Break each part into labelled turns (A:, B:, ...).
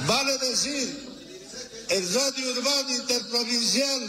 A: Vale decir, el radio urbano interprovincial,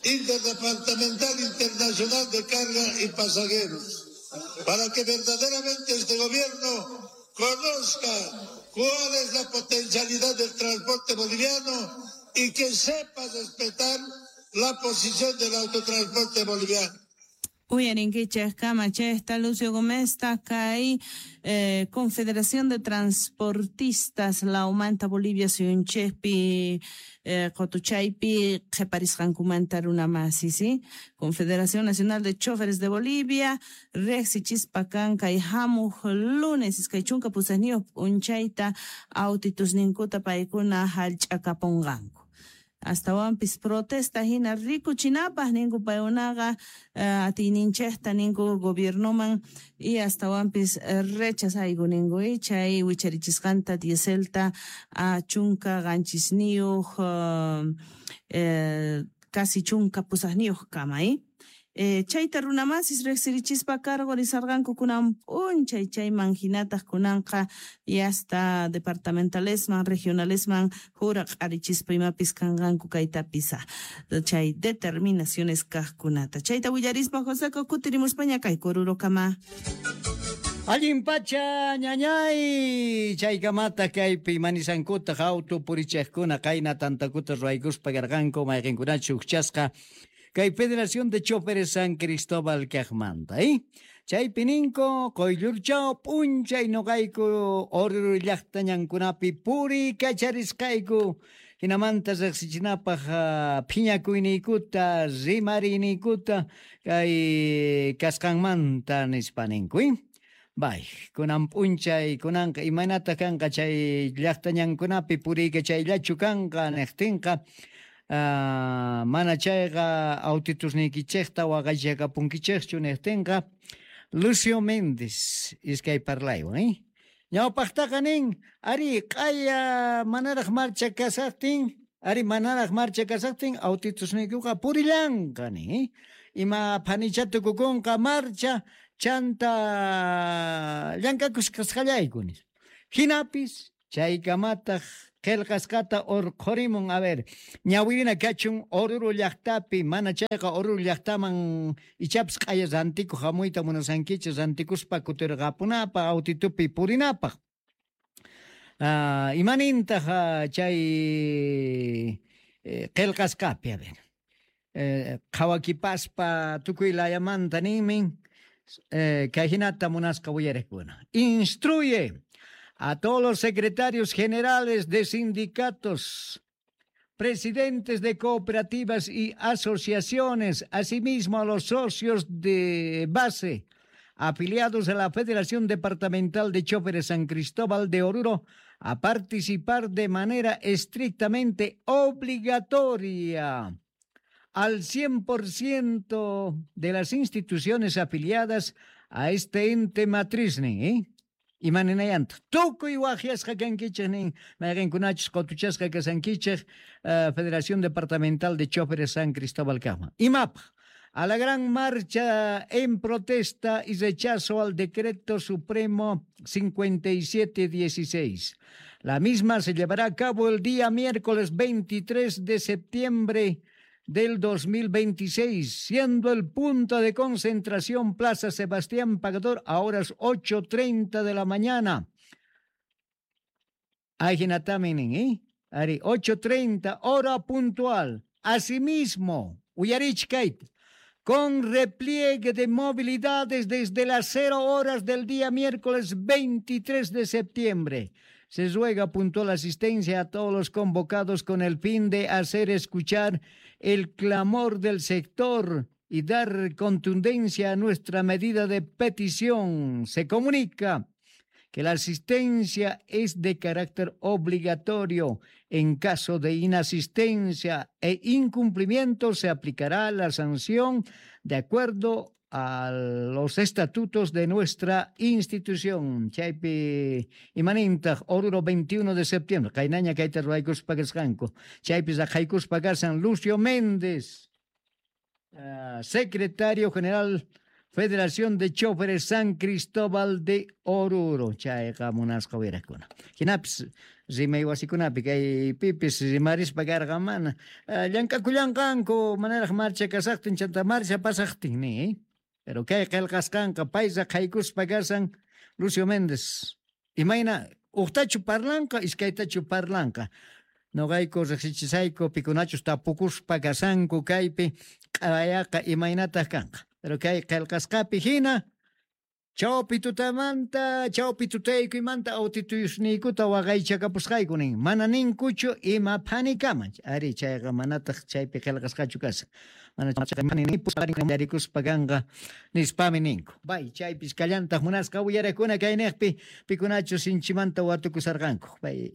A: interdepartamental, internacional de carga y pasajeros, para que verdaderamente este gobierno conozca cuál es la potencialidad del transporte boliviano y que sepa respetar la posición del autotransporte boliviano.
B: Uyarinkichej kamachejta Lucio Gómez kay Confederación de Transportistas Laumanta Bolivia suyunchejpi qotuchaypi qheparisqankumanta runa masi, ¿sí? Confederación Nacional de Choferes de Bolivia rejsichispa kan kay hamuj lunes 28 p'unchayta autitusninkuta paykuna hallch'akapunqanku. Astawanpis protesta hina rikuchinapaj ninku paykunaqa atiyninchejta ninku gobiernoman y astawanpis rechazayku ninku chay wicharichisqanta dieselta a 17 casi 18 kama. Chayta runamasis rejsirichispa cargo risarqanku kunan p'unchay chayman hinataq kunanqa y hasta departamentalesman regionalesman juraq'arichispa imapis kanqanku kaytapis chay determinaciones kaqkunata. Chayta willarispa Joseco kutirimuspaña kay Orurokama.
C: Allin pacha ñañay chaykamata kaypi manisankuta auto purichejkuna qayna tantakuta ruwaykuspa karqanku mayqinkunachu ujchasqa kay Federación de Choferes San Cristóbal kaqmanta, Chaypi ninku quyllurchaw p'unchay nuqayku Oruro llaqta ñankunapi puriykacharisqayku hinamanta riqsichinapaq phiñakuyniykuta rimariniykuta kay kasqanmanta nispa ninku, Bay, kunan p'unchay kunanqa imaynata kanqa chay llaqta ñankunapi puriykachayllachu kanqa niqtinqa mana chayqa autitusniykichejta waqaychakapunkichejchu niqtinqa Lucio Méndez iskay parlaywan, Ñawpaqtaqa nin ari q'aya manaraq marcha kasaqtin, ari manaraq marcha kasaqtin autitusniykuqa purillanqa nin, Ima phanicha tukukunqa marcha chanta llank'akusqallayku nis. Hinapis chaykamataq qillqasqata urqhurimun, a ver, ñawirina kachun Oruro llaqtapi, mana chayqa Oruro llaqtaman ichapis q'aya rantikuq hamuyta munasankichik rantikuspa kutirqapunapaq autitupi purinapaq. Imanintaq chay qillqasqapi, a ver, qhawakipaspa tukuy layamanta ninmin, kay hinata munasqa uyariqkuna. Instruye a todos los secretarios generales de sindicatos, presidentes de cooperativas y asociaciones, asimismo a los socios de base afiliados a la Federación Departamental de Choferes San Cristóbal de Oruro, a participar de manera estrictamente obligatoria al 100% de las instituciones afiliadas a este ente matriz, Imaninayanta tukuy waqyasqa kankichej nin mayqinkunachus qotuchasqa kasankichej Federación Departamental de Choferes San Cristóbal kaqman. Imapaq a la gran marcha en protesta y rechazo al Decreto Supremo 5716. La misma se llevará a cabo el día miércoles 23 de septiembre del 2026, siendo el punto de concentración Plaza Sebastián Pagador a horas 8:30 de la mañana. Ajinataminin, Ari, 8:30, hora puntual. Asimismo, uyarichkait, con repliegue de movilidades desde las 0 horas del día miércoles 23 de septiembre. Se ruega puntual asistencia a todos los convocados con el fin de hacer escuchar el clamor del sector y dar contundencia a nuestra medida de petición. Se comunica que la asistencia es de carácter obligatorio. En caso de inasistencia e incumplimiento se aplicará la sanción de acuerdo a los estatutos de nuestra institución. Chaypi imanintaq Oruro 21 de septiembre. Qaynaña kayta ruwaykuspa kasqanku. Chaypi raqaykuspa kasan Lucio Méndez, secretario general Federación de Choferes San Cristóbal de Oruro. Chayqa munasqa wirakuna. Hinapis rimay wasikunapi kay pipis rimarispa karqa mana llank'akullanqanku manaraq marcha kasaqtin chanta marcha pasaqtin ni. Pero kay qillqasqanqa paysa qhaykuspa kasan Lucio Méndez. Imayna uqtachu parlanqa iskaytachu parlanqa. Noqayku riqsichisayku pikunachus tapukuspa kasanku kaypi q'ayaqa imaynataq kanqa. Pero kay qillqasqapi hina chawpi tutamanta, chawpi tutaykuymanta autituyusniykuta waqaychakapusqayku nin. Mana ninkuchu ima phanikama. Ari chayqa manataq chaypi qillqasqachu kasan. Mana chayqa kanqa nispami ninku. Bay chaypis kallantaq munasqa uyarakuna kayniqpi pikunachu sinchimanta watukusarqanku. Bay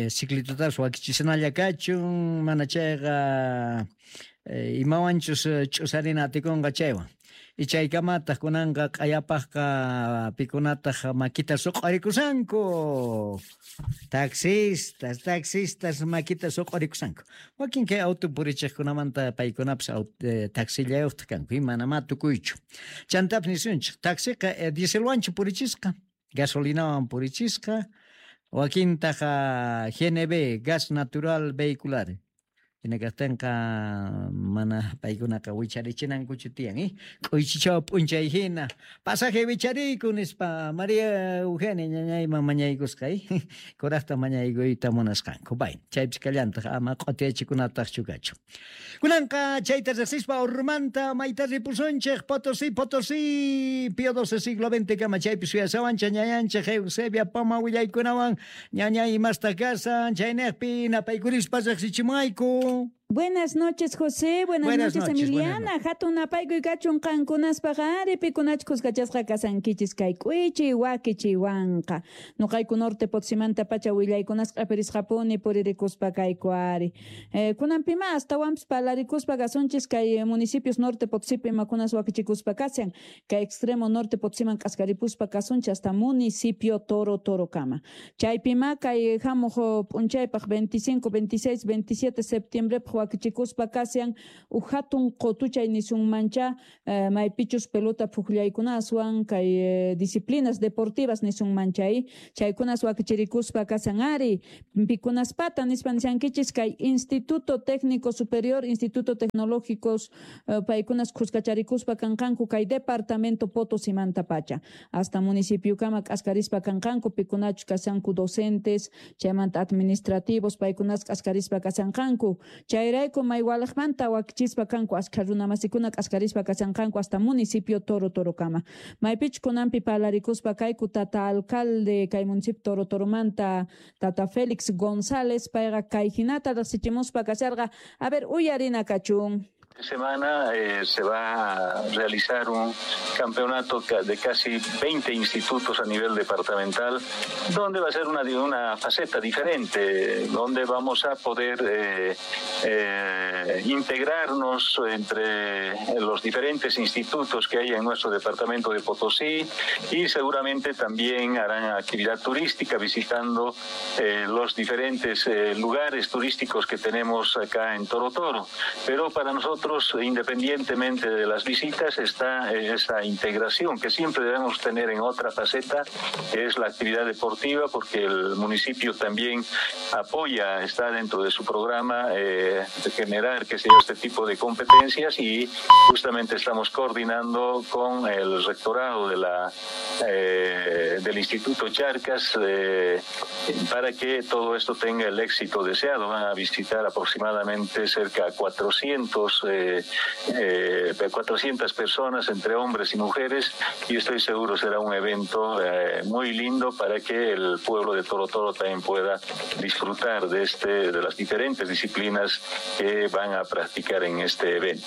C: ciclitutas wakichisnalla kachun mana chayqa imawanchus ch'usarina atikunqa chaywan. Ichaykamataq kunanqa q'ayapaqqa pikunataq makita suq'arikusanku. Taxistas, taxistas makita suq'arikusanku. Wakin kay auto purichiqkunamanta paykunapis taxillayuqtaq kanku, manamá tukuychu. Chantapis nisunchik, taxiqa dieselwanchu purichisqa, gasolinawan purichisqa, wakintaq GNB, gas natural vehicular. Hinakaqtinqa mana paykunaqa wicharichinankuchu tiyan, K'uychichaw p'unchay hina pasaje wichariyku nispa María Eugenia ñañayman mañaykusqa, kuraqta mañaykuyta munasqanku. Bay, chaypis kallantaq ama q'utiyachikunataqchu kachu. Kunanqa chayta riqsispa Ormanta mayta ripusunchik Potosí, Potosí, Pío XII siglo XX kama chaypi suyasawanchik ñañanchik Eusebia Poma willaykunawan ñañay imasta kasan chayniqpi napaykurispa riqsichimuayku.
D: Buenas noches, José. Buenas noches, Emiliana. Hatun napaykuy kachun qankunaspaq ari pikunachus kuskachasqa kasankichis kay k'uichi wakichiwanqa. Nuqayku norte Potosimanta pacha willaykunasqa q'ipirisqapuni puririkuspa kayku ari. Kunanpima astawanpis parlarikuspa kasunchis kay municipios norte Potosipi imakunas wakichikuspa kashan. Kay extremo norte Potosiman k'askaripuspa kasunchis hasta municipio Toro Torokama. Chaypima kay hamuq p'unchaypaq 25, 26, 27 septiembre wakichikuspa kashan uj hatun qutuchay nisunmancha maypichus pelota phuqllaykunaswan kay disciplinas deportivas nisunmanchay chaykunas wakichirikuspa kashan ari pikunaspata nispa nishankichis kay Instituto Técnico Superior, Instituto Tecnológicos paykunas khuskacharikuspa kanqanku kay departamento Potosimanta pacha hasta municipiokama k'askarispa kanqanku pikunachus kashanku docentes chaymanta administrativos paykunas k'askarispa kashanqanku. Chayrayku maywalaqmanta wakichispa kanku ashkha runamasikuna k'askarispa kashanqanku hasta municipio Toro Torokama. Maypichu kunanpi parlarikuspa kayku tata alcalde kay municipio Toro Toromanta tata Félix González payqa kay hinata riqsichimuspa kasharqa. A ver, uyarina kachun.
E: Semana se va a realizar un campeonato de casi 20 institutos a nivel departamental, donde va a ser una faceta diferente, donde vamos a poder integrarnos entre los diferentes institutos que hay en nuestro departamento de Potosí y seguramente también harán actividad turística visitando los diferentes lugares turísticos que tenemos acá en Toro Toro. Pero para nosotros, independientemente de las visitas, está esa integración que siempre debemos tener en otra faceta, que es la actividad deportiva, porque el municipio también apoya, está dentro de su programa de generar, qué sé yo, este tipo de competencias, y justamente estamos coordinando con el rectorado de del Instituto Charcas para que todo esto tenga el éxito deseado. Van a visitar aproximadamente cerca de 400 personas entre hombres y mujeres, y estoy seguro será un evento muy lindo para que el pueblo de Toro Toro también pueda disfrutar de las diferentes disciplinas que van a practicar en este evento.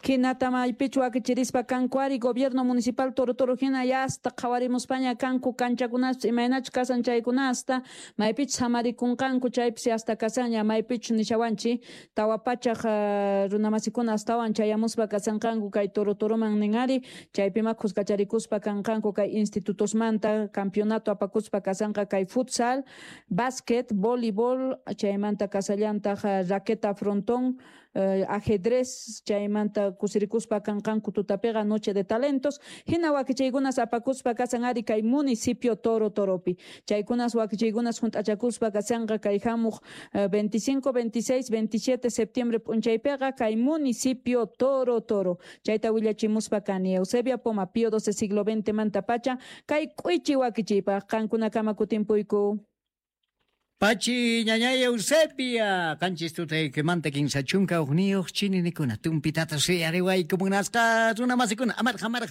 D: Hinata maypichu wakichirispa kanku ari gobierno municipal Toro Toro hina yasta qhawarimuspaña kanku kanchakunaspa imaynachu kasan chaykunasta maypichu samarikunqanku chaypis hasta kasaña maypichu nishawanchi tawa pachaq runamasikuna astawan chayamuspa kasanqanku kay Toro Toroman nin ari chaypima khuskacharikuspa kanqanku kay institutosmanta campeonato apakuspa kasanqa kay futsal, básquet, voleibol chaymanta kasallantaq raqueta frontón. Ajedrez chaymanta kusirikuspa kanqanku tutapiqa Noche de Talentos hina wakichiykunas apakuspa kasan ari kay municipio Toro Toropi chaykunas wakichiykunas hunt'achakuspa kasanqa kay hamuq 25, 26, 27 septiembre p'unchaypiqa kay municipio Toro Toro chayta willachimuspa kani Eusebia Poma Pío XII siglo XX manta pacha kay k'uichi wakichiypaq qankunakama kutimpuyku.
C: Pachi ñañay Eusebia, qanchis tutaykimanta kinsa chunka hukniyuq chininikuna tumpitata suyariwayku munasqa runa masikuna amaraj amaraj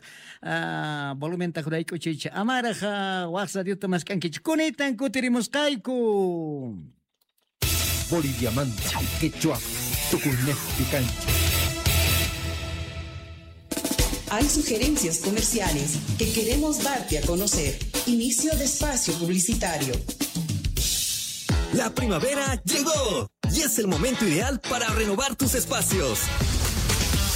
C: volumenta juraykuchiychik amaraj waq radiota mask'ankichik kunitan kutirimusqayku.
F: Boliviamanta quechua tukuynejpi kanchik.
G: Hay sugerencias comerciales que queremos darte a conocer. Inicio de espacio publicitario.
H: La primavera llegó y es el momento ideal para renovar tus espacios.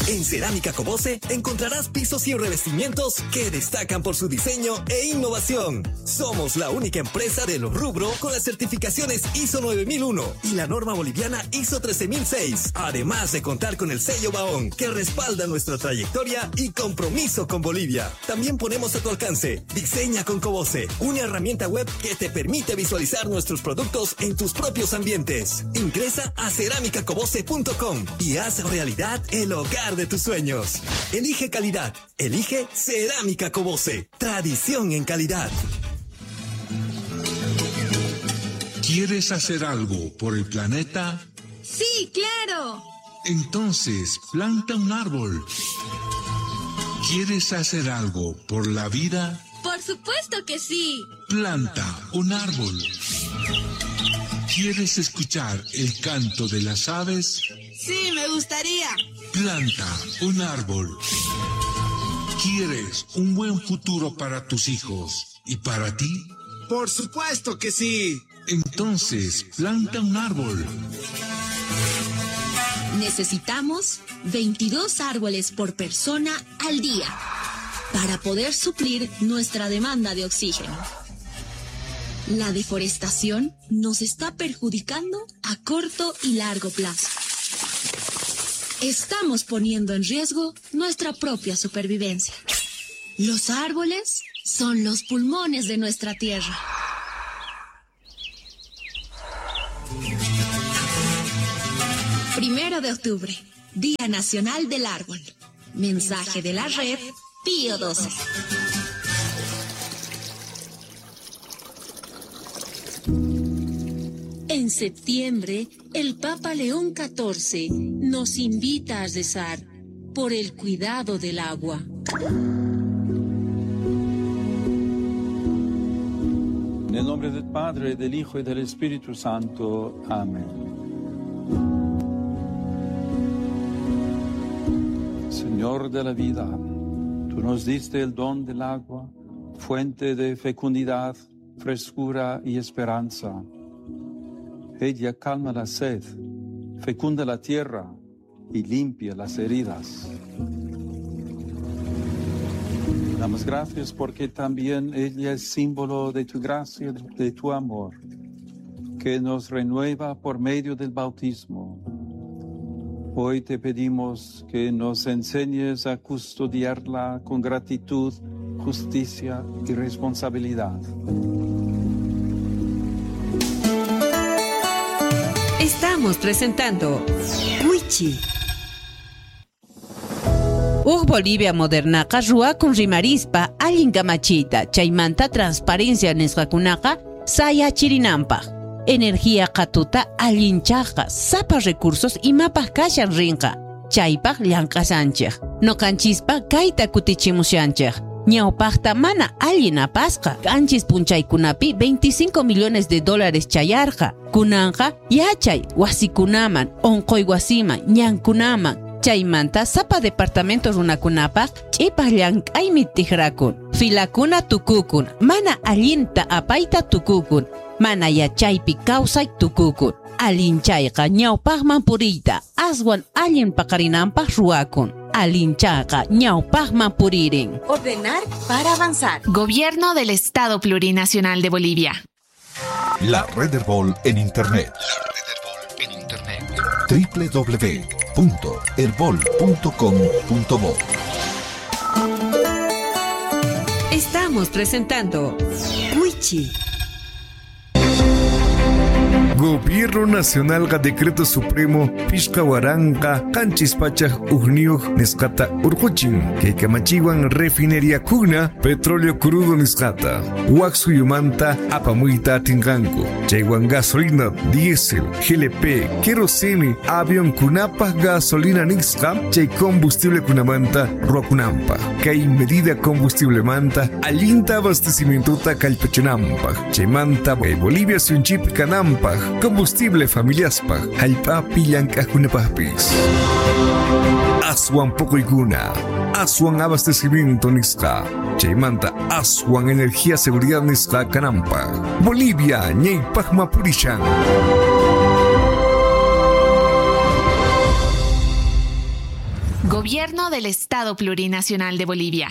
H: En Cerámica Cobose encontrarás pisos y revestimientos que destacan por su diseño e innovación. Somos la única empresa del rubro con las certificaciones ISO 9001 y la norma boliviana ISO 13006. Además de contar con el sello Baón, que respalda nuestra trayectoria y compromiso con Bolivia. También ponemos a tu alcance Diseña con Cobose, una herramienta web que te permite visualizar nuestros productos en tus propios ambientes. Ingresa a ceramicacobose.com y haz realidad el hogar de tus sueños. Elige calidad. Elige Cerámica Cobose. Tradición en calidad.
F: ¿Quieres hacer algo por el planeta?
I: Sí, claro.
F: Entonces, planta un árbol. ¿Quieres hacer algo por la vida?
I: Por supuesto que sí.
F: Planta un árbol. ¿Quieres escuchar el canto de las aves?
I: Sí, me gustaría.
F: Planta un árbol. ¿Quieres un buen futuro para tus hijos y para ti?
J: Por supuesto que sí.
F: Entonces, planta un árbol.
K: Necesitamos 22 árboles por persona al día para poder suplir nuestra demanda de oxígeno. La deforestación nos está perjudicando a corto y largo plazo. Estamos poniendo en riesgo nuestra propia supervivencia. Los árboles son los pulmones de nuestra tierra. 1 de octubre, Día Nacional del Árbol. Mensaje de la red Pío XII.
L: En septiembre, el Papa León XIV nos invita a rezar por el cuidado del agua.
M: En el nombre del Padre, del Hijo y del Espíritu Santo. Amén. Señor de la vida, tú nos diste el don del agua, fuente de fecundidad, frescura y esperanza. Ella calma la sed, fecunda la tierra y limpia las heridas. Damos gracias porque también ella es símbolo de tu gracia, de tu amor, que nos renueva por medio del bautismo. Hoy te pedimos que nos enseñes a custodiarla con gratitud, justicia y responsabilidad.
N: Estamos presentando Wichi. Uj Bolivia modernaqa ruwakun rimarispa allin kamachiyta chaymanta transparencia nisqakunaqa sayachirinanpaq. Energía qhatuta allinchaqqa sapa recursos imapaq kashan rinqa chaypaq llank'asanchik. Noqanchispa kayta kutichimushanchik. Ñawpaqta mana allin apasqa qanchis punchaykunapi 25 millones de dólares chayarqa. Kunanqa yachay wasikunaman, onqoy wasiman, ñankunaman. Chaymanta sapa departamento runakunapaq ch'ipaq llank'aymi tijrakun. Filakuna tukukun, mana allinta apayta tukukun, mana yachaypi kawsay tukukun. Allinchayqa ñawpaqman puriyta, aswan allin paqarinanpaq ruwakun. Allinchayqa ñawpaqman puririn.
O: Ordenar para avanzar.
P: Gobierno del Estado Plurinacional de Bolivia.
F: La Red del Bol en Internet. La Red del Bol en Internet.
Q: www.erbol.com.bo.
N: Estamos presentando Wichi.
R: Gobierno Nacional ga Decreto Supremo Pishka Waranqa Qanchis Pachaj Ujniyuq nisqata urquchin kay kamachiwan refinería kuna petróleo crudo nisqata wak suyumanta apamuyta atinqanku chaywan gasolina diésel GLP kerosene avión kunapaj gasolina nisqa chay combustible kunamanta ruwakunanpaj kay medida combustiblemanta allinta abastecimientota kallpachinanpaj chaymanta Bolivia suyunchik kananpaj combustible familiaspaj jallp'api llank'ajkunapajpis. Aswan poqoykuna, aswan abastecimiento nisqa, chaymanta aswan energía seguridad nisqa kananpaj. Bolivia ñaypajma purishan.
P: Gobierno del Estado Plurinacional de Bolivia.